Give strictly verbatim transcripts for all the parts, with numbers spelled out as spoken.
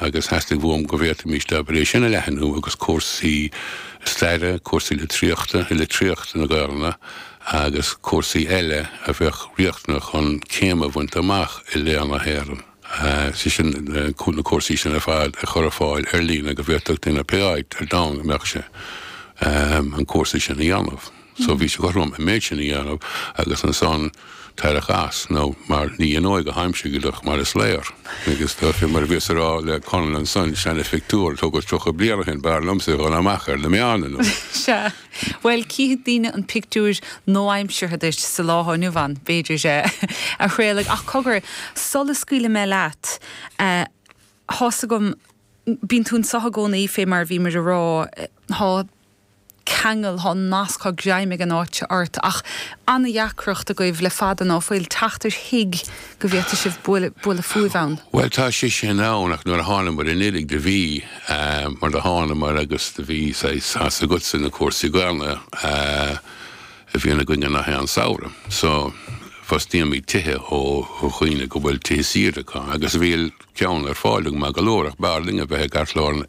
agus theastaigh uaim go bhféadfaimis abair é sin a leathnú agus cúrsaí staire, cúrsaí litríochta, litríocht na Gaelainne agus cúrsaí eile a bheadh riachtanach chun céim a bhaint amach i Léann na hÉireann. Sé sin na cúrsaí sin ar fad a chur ar fáil ar líne go bhféadfadh duine pé áit ar domhan a mbeadh sé an cúrsa sin a dhéanamh. So bhí sé cothrom an méid sin a dhéanamh agus ansan tarrac as nó mar ní an óige haimse mar is léir. Agus tá fé mar bhíos ag rá le Conall ansan seana-phictiúr tógadh tríocha bliain ó shin b'fhearr liomsa dhul amach ar na meáin nó. Sea. Bhuel cífidh daoine an pictiúr nua-aimseartha duit sa lá atá inniu ann, b'fhéidir, a Thraolaigh. Ach cogar, sula scaoilfidh mé leat, thá's agam, bíonn tú anseo i gcónaí fé mar a bhíomar a rá, thá ceangal, thá nasc, thá greim ag an áit ort, ach ana-dheacracht agaibh le fada ná fuil teacht ar thigh go bhféadfadh sibh bualadh, bualadh fúibh ann. Bhuel tá sé sin ann ach nuair a thánamar anuiridh do bhí, mar do thánamar agus do bhí saghas, tá's agatsa na cúrsaí Gaelainne a bhíonn againne nach aon samhradh. So fostaímid tithe ó dhaoine go bhfuil tithe saoire acu agus bhí ceann ar fáil agam maith go leor ach b'fhearr linn a bheith i gceartlár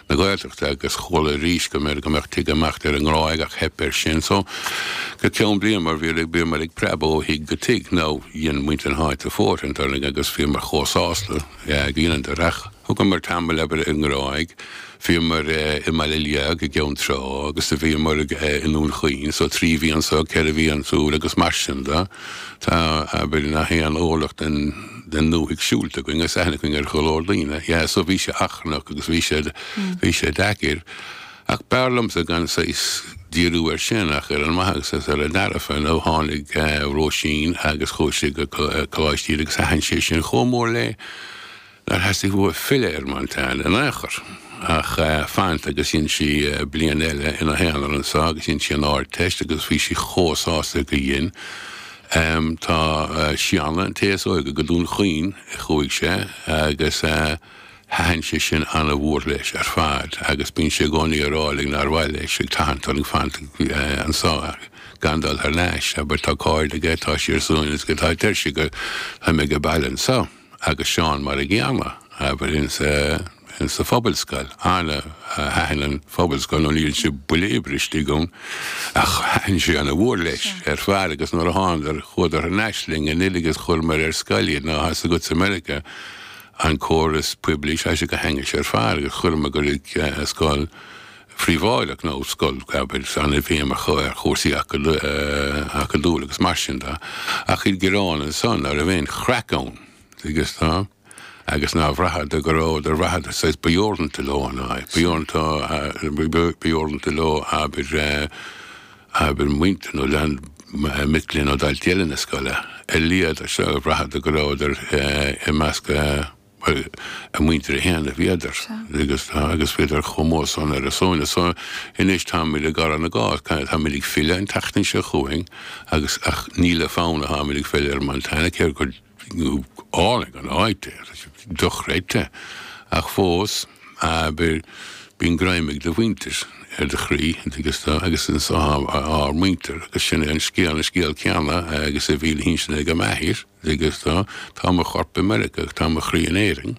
na Gaeltachta agus chuala arís go mb'fhéidir go mbeadh tigh ag imeacht ar an nGráig ach theip air sin so go ceann bliain mar bhí bhíomar ag preabadh ó thigh go tigh nó dhein muintir na háite fóirithint orainn agus bhíomar chomh sásta go dheineadar ach thugamar tamall abair ar an nGráig Bhíomar i mBaile Liag i gCeann Trá agus do bhíomar i nDún Chaoin, so trí mhí anso, ceithre mhí ansúd agus mar sin de. Tá, abair, nach aon orlach den den ndúthaigh siúlta againn agus aithne againn ar go leor daoine. Yeah, so bhí sé achrannach agus bhí sé bhí sé deacair. Ach b'fhearr liomsa gan saghas díriú air sin ach ar an maith agus ar an dearfa nó tháinig Róisín agus chuaigh sí go Coláiste Íde agus thaitin sé sin chomh mór léi. Nár theastaigh uaithi filleadh ar Montana in aon chor ach fanacht agus dhein sí bliain eile ina haonar anso agus dhein sí an Ardteist agus bhí sí chomh sásta go dhein. Tá Séanna, an té is óige, go Dún Chaoin a chuaigh sé agus thaitin sé sin ana-mhór leis ar fad agus bíonn sé i gcónaí ag rá linn nár mhaith leis ag tathant orainn fanacht anso gan dul thar n-ais. Abair tá cairde aige, tá sé ar suaimhneas go, tá, deir sé go, tá mé age baile anso. Agus Seán mar a gcéanna, abair, insa phobalscoil. Ana thaitin an phobalscoil nó ní dhein sé buille oibre istigh ann ach thaitin sé ana mhór leis ar fad agus nuair a thánadar chuadar thar n-ais linn anuiridh agus chuireamar ar scoil iad nó tá's agat i Meiriceá an córas poiblí tá sé go hainnis ar fad agus chuireamar go scoil phríobháideach nó scoil abair ana bhéim ar chúrsaí acadúla agus mar sin de ach iad gearán ansan ná raibh aon chraic ann. Agus tá, agus nár bhraitheadar go rabhadar, bhraitheadar saghas ba dheoranta leo an áit, ba dheoranta, ba dheoranta leo abair, abair muintir nó lean, mic léinn nó daltaí eile na scoile a luíodar seo, bhraitheadar go rabhadar i measc bhuel, a muintire féin a bhíodar agus tá, agus bhíodar chomh mór san ar a suaimhneas. So anois táimid ag gearradh na gcás, táimid ag filleadh an tseachtain seo chugainn agus, ach ní le fonn atáimid ag filleadh ar Montana, cé gur álainn an áit é, tá sé dochreidte. Ach fós, abair, bíonn greim ag do mhuintir ar do chroí, agus tá, agus anso tá ár muintir, agus sin é an scéal, an scéal céanna agus a bhí le hinsint ag m'athair, agus tá, tá mo chorp i Meiriceá ach tá mo chroí in Éirinn.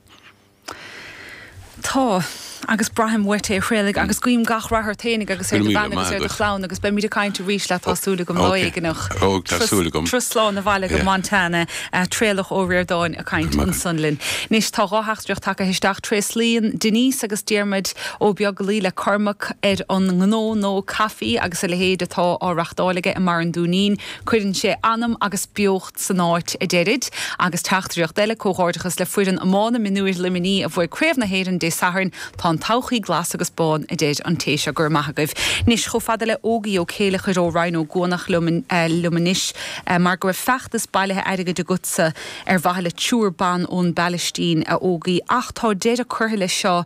Tá, agus braithim uait é, a Thraolaigh, agus guím gach rath ort fhéinig agus ar do bhean agus ar do chlann agus beimid ag caint arís leat, tá súil agam, lá éigineach. Turas slán abhaile go Montana, Traolach Ó Ríordáin ag caint ansan linn. Anois tá dhá theachtaireacht tagtha isteach, tréaslaíonn Denise agus Diarmuid Ó Beaglaoi le Cormac ar an ngnó nó caife agus a leithéid atá á reachtáil aige i mBarr an Dúinín. Cuireann sé anam agus beocht san áit, a deirid. Agus teachtaireacht eile, Comhghairdeachas le foireann iomána mionúir Luimnigh a bhuaigh Craobh na hÉireann Dé Sathairn. Tá an todhchaí glas agus bán, a deir an té seo. Go raibh maith agaibh. Anois, chomh fada le Ógie Ó Céileachair ó Rinn Ó gCuanach liom liom anois mar go raibh feachtas bailithe airgid agatsa ar mhaithe le triúr ban ón bPalaistín, a Ógie, ach tá deireadh curtha leis seo,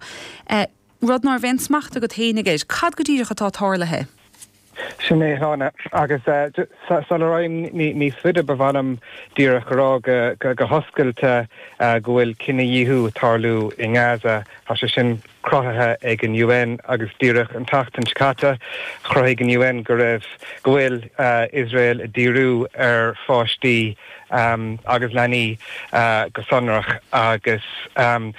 rud ná raibh aon smacht agat fhéinig air. Cad go díreach atá tarlaithe? Sin é Shláine agus sula raghaim níos faide ba mhaith liom díreach a rá go go hoscailte go bhfuil cinedhíothú ag tarlú i nGaza tá sé sin cruthaithe ag an UN agus díreach an tseachtain seo caite chruthaigh an UN go raibh go bhfuil Iosrael ag díriú ar pháistí um, agus leanaí uh, go sonrach agus um,